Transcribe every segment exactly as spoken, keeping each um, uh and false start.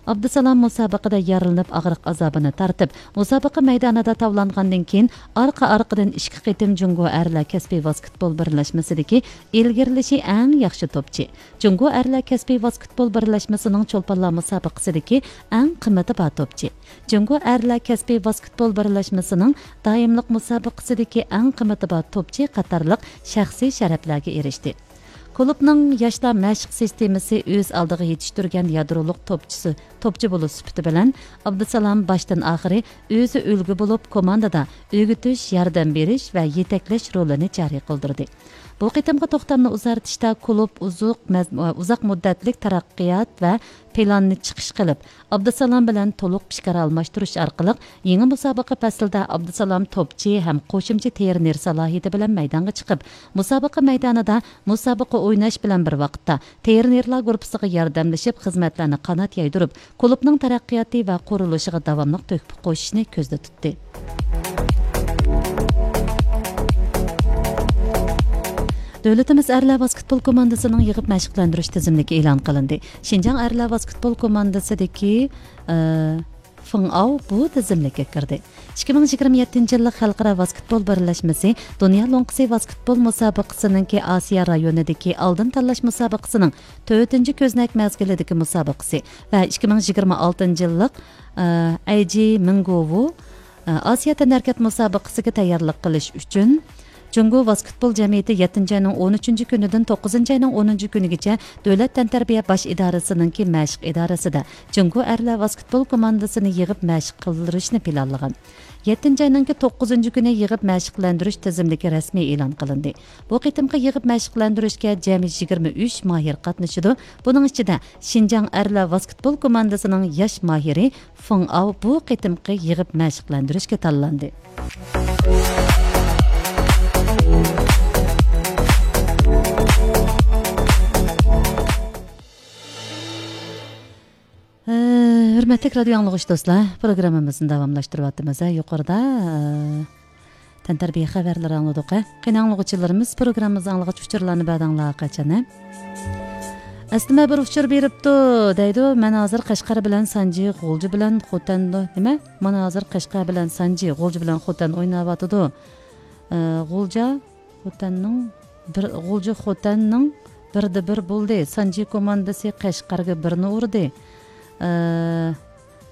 ئابدۇسالام مۇسابىقىدە يارىلىنىپ، ئاغرىق ئازابىنى تارتىپ، مۇسابىقە مەيدانىدا تاۋلانغاندىن كېيىن، ئارقا-ئارقىدىن ئىككى قېتىم جۇڭگو ئەرلەر كەسپىي ۋاسكېتبول بىرلەشمىسىدىكى ئىلگىرىلىشى ئەڭ ياخشى توپچى، جۇڭگو ئەرلەر كەسپىي ۋاسكېتبول بىرلەشمىسىنىڭ چولپانلار مۇسابىقىسىدىكى ئەڭ قىممىتى بار توپچى، جۇڭگو ئەرلەر كەسپىي ۋاسكېتبول بىرلەشمىسىنىڭ دائىملىق مۇسابىقىسىدىكى ئەڭ قىممىتى بار توپچى قاتارلىق شەخسىي شەرەپلەرگە ئېرىشتى. كۇلۇبنىڭ ياشلار مەشىق سىستېمىسى ئۆز ئالدىغا يېتىشتۈرگەن يادرولۇق توپچىسى، توپچى بولۇش سۈپىتى بىلەن، ئابدۇسالام باشتىن ئاخىرى ئۆزى ئۈلگە بولۇپ، كوماندىدا ئۆگىتىش، ياردەم بېرىش ۋە يېتەكلەش رولىنى جارى قىلدۇردى. بۇ قېتىمقى توختامنى ئۇزارتىشتا كۇلۇب ئۇزۇق مەز-، ئۇزاق مۇددەتلىك تەرەققىيات ۋە پىلاننى چىقىش قىلىپ، ئابدۇسالام بىلەن تولۇق پىكىر ئالماشتۇرۇش ئارقىلىق، يېڭى مۇسابىقە پەسلىدە ئابدۇسالام توپچى ھەم قوشۇمچە ترېنېر سالاھىيىتى بىلەن مەيدانغا چىقىپ، مۇسابىقە مەيدانىدا مۇسابىقە ئويناش بىلەن بىر ۋاقىتتا، ترېنېرلار گۇرۇپپىسىغا ياردەملىشىپ، خىزمەتلەرنى قانات يايدۇرۇپ، كۇلۇبنىڭ تەرەققىياتى ۋە قۇرۇلۇشىغا داۋاملىق تۆھپە قوشۇشنى كۆزدە تۇتتى. دۆلىتىمىز ئەرلەر ۋاسكېتبول كوماندىسىنىڭ يىغىپ مەشىقلەندۈرۈش تىزىملىكى ئېلان قىلىندى. شىنجاڭ ئەرلەر ۋاسكېتبول كوماندىسىدىكى، ئى، فېڭ ئاۋ بۇ تىزىملىككە كىردى. ئىككى مىڭ يىگىرمە يەتتىنچى يىللىق خەلقئارا ۋاسكېتبول بىرلەشمىسى دۇنيا لوڭقىسى ۋاسكېتبول مۇسابىقىسىنىڭكى ئاسىيا رايونىدىكى ئالدىن تاللاش مۇسابىقىسىنىڭ تۆتىنچى كۆزنەك مەزگىلىدىكى مۇسابىقىسى ۋە ئىككى مىڭ يىگىرمە ئالتىنچى يىللىق، ئە، ئەيجى مىڭگوۋۇ، ئە، ئاسىيا تەنھەرىكەت مۇسابىقىسىگە تەييارلىق قىلىش ئۈچۈن جۇڭگو ۋاسكېتبول جەمئىيىتى يەتتىنچى ئاينىڭ ئون ئۈچىنچى كۈنىدىن توققۇزىنچى ئاينىڭ ئونىنچى كۈنىگىچە دۆلەت تەنتەربىيە باش ئىدارىسىنىڭكى مەشىق ئىدارىسىدە جۇڭگو ئەرلەر ۋاسكېتبول كوماندىسىنى يىغىپ مەشىق قىلدۇرۇشنى پىلانلىغان. يەتتىنچى ئاينىڭكى توققۇزىنچى كۈنى يىغىپ مەشىقلەندۈرۈش تىزىملىكى رەسمىي ئېلان قىلىندى. بۇ قېتىمقى يىغىپ مەشىقلەندۈرۈشكە جەمئىي يىگىرمە ئۈچ ماھىر قاتنىشىدۇ. بۇنىڭ ئىچىدە شىنجاڭ ئەرلەر ۋاسكېتبول كوماندىسىنىڭ ياش ماھىرى فېڭ ئاۋ بۇ قېتىمقى يىغىپ مەشىقلەندۈرۈشكە تاللاندى. ھە، ھۆرمەتلىك رادىيو ئاڭلىغۇچى دوستلار، پروگراممىمىزنى داۋاملاشتۇرۇۋاتىمىز. ھە، يۇقىرىدا، ھە، تەنتەربىيە خەۋەرلىرى ئاڭلىدۇق. ھە، قېنى ئاڭلىغۇچىلىرىمىز، پروگراممىمىزنى ئاڭلىغاچ ئۇچۇرلارنى بەردىڭلار قاچان، ھە؟ ئەسلىمە بىر ئۇچۇر بېرىپتۇ، دەيدۇ. مەن ھازىر قەشقەر بىلەن سانجى، غۇلجا بىلەن خوتەندۇ، نېمە؟ مانا ھازىر قەشقەر بىلەن سانجى، غۇلجا بىلەن خوتەن ئويناۋاتىدۇ. ئە، غۇلجا خوتەننىڭ بىر، غۇلجا خوتەننىڭ بىردە بىر بولدى. سانجى كوماندىسى قەشقەرگە بىرنى ئۇردى. ئە،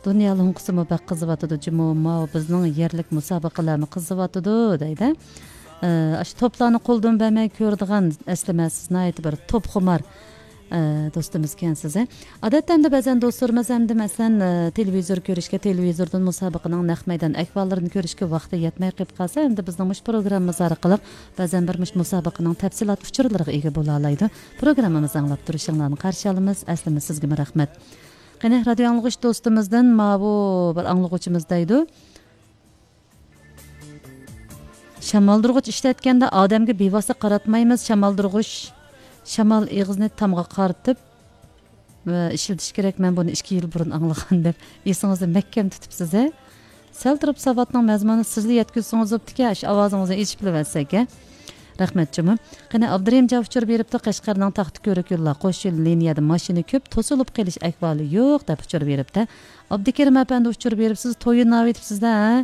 دۇنيا لوڭقىسىمۇ بەك قىزىۋاتىدۇ جۇمۇ. ماۋۇ بىزنىڭ يەرلىك مۇسابىقىلەرمۇ قىزىۋاتىدۇ، دەيدۇ. ئە، ئاشۇ توپلارنى قولدىن بەرمەي كۆرىدىغان ئەسلىمە سىز ناھايىتى بىر توپخۇمار، ئە، دوستىمىز ئىكەنسىز، ھە. ئادەتتە ئەمدى بەزەن دوستلىرىمىز ئەمدى مەسىلەن، ئە، تېلېۋىزور كۆرۈشكە، تېلېۋىزوردىن مۇسابىقىنىڭ نەق مەيدان ئەھۋاللىرىنى كۆرۈشكە ۋاقتى يەتمەي قېلىپ قالسا، ئەمدى بىزنىڭ مۇشۇ پروگراممىمىز ئارقىلىق بەزەن بىر مۇشۇ مۇسابىقىنىڭ تەپسىلات ئۇچۇرلىرىغا ئىگە بولالايدۇ. پروگراممىمىزنى ئاڭلاپ تۇرۇشۇڭلارنى قارشى ئالىمىز. ئەسلىمە سىزگىمۇ رەھمەت. قېنى، رادىيو ئاڭلىغۇچ دوستىمىزدىن ماۋۇ بىر ئاڭلىغۇچىمىز دەيدۇ. شامالدۇرغۇچ ئىشلەتكەندە ئادەمگە بىۋاسىتە قاراتمايمىز. شامالدۇرغۇچ، شامال ئېغىزىنى تامغا قارىتىپ، ئە، ئىشلىتىش كېرەك. مەن بۇنى ئىككى يىل بۇرۇن ئاڭلىغان دەپ ئېسىڭىزدە مەھكەم تۇتۇپسىز، ھە؟ سەل تۇرۇپ ساۋاتنىڭ مەزمۇنىنى سىزلا يەتكۈزسىڭىز بوپتىكەن، شۇ ئاۋازىڭىزنى ئېچىپ بىلىۋەتسەك، ھە؟ رەھمەت جۇمۇ. قېنى، ئابدۇرېھىم جان ئۇچۇر بېرىپتۇ، قەشقەرنىڭ تاختىكۆرۈك يوللار قوش يول لىنىيەدە ماشىنا كۆپ، توسۇلۇپ قېلىش ئەھۋالى يوق دەپ ئۇچۇر بېرىپتۇ. ئابدۇكېرىم ئەپەندى ئۇچۇر بېرىپ، سىز تويۇناۋېتىپسىز-دە، ھە؟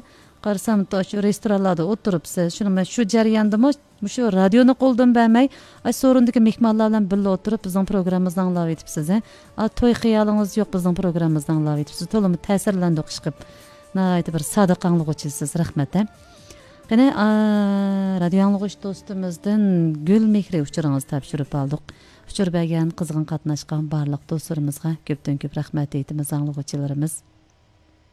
قارىسام، تو-، شۇ رېستورانلاردا ئولتۇرۇپسىز. شۇنىڭ بىلەن شۇ جەرياندىمۇ مۇشۇ رادىيونى قولدىن بەرمەي، ئاشۇ سورۇندىكى مېھمانلار بىلەن بىللە ئولتۇرۇپ بىزنىڭ پروگراممىمىزنى ئاڭلاۋېتىپسىز، ھە؟ ئا، توي خىيالىڭىز يوق بىزنىڭ پروگراممىمىزنى ئاڭلاۋېتىپسىز. تولىمۇ تەسىرلەندۇق ئىشقىپ. ناھايىتى بىر سادىق ئاڭلىغۇچىسىز، رەھمەت، ھە؟ قېنى، ئا، رادىيو ئاڭلىغۇچ دوستىمىزدىن گۈل مېھرى ئۇچۇرىڭىزنى تاپشۇرۇپ ئالدۇق. ئۇچۇر بەرگەن، قىزغىن قاتناشقان بارلىق دوستلىرىمىزغا كۆپتىن كۆپ رەھمەت ئېيتىمىز، ئاڭلىغۇچىلىرىمىز.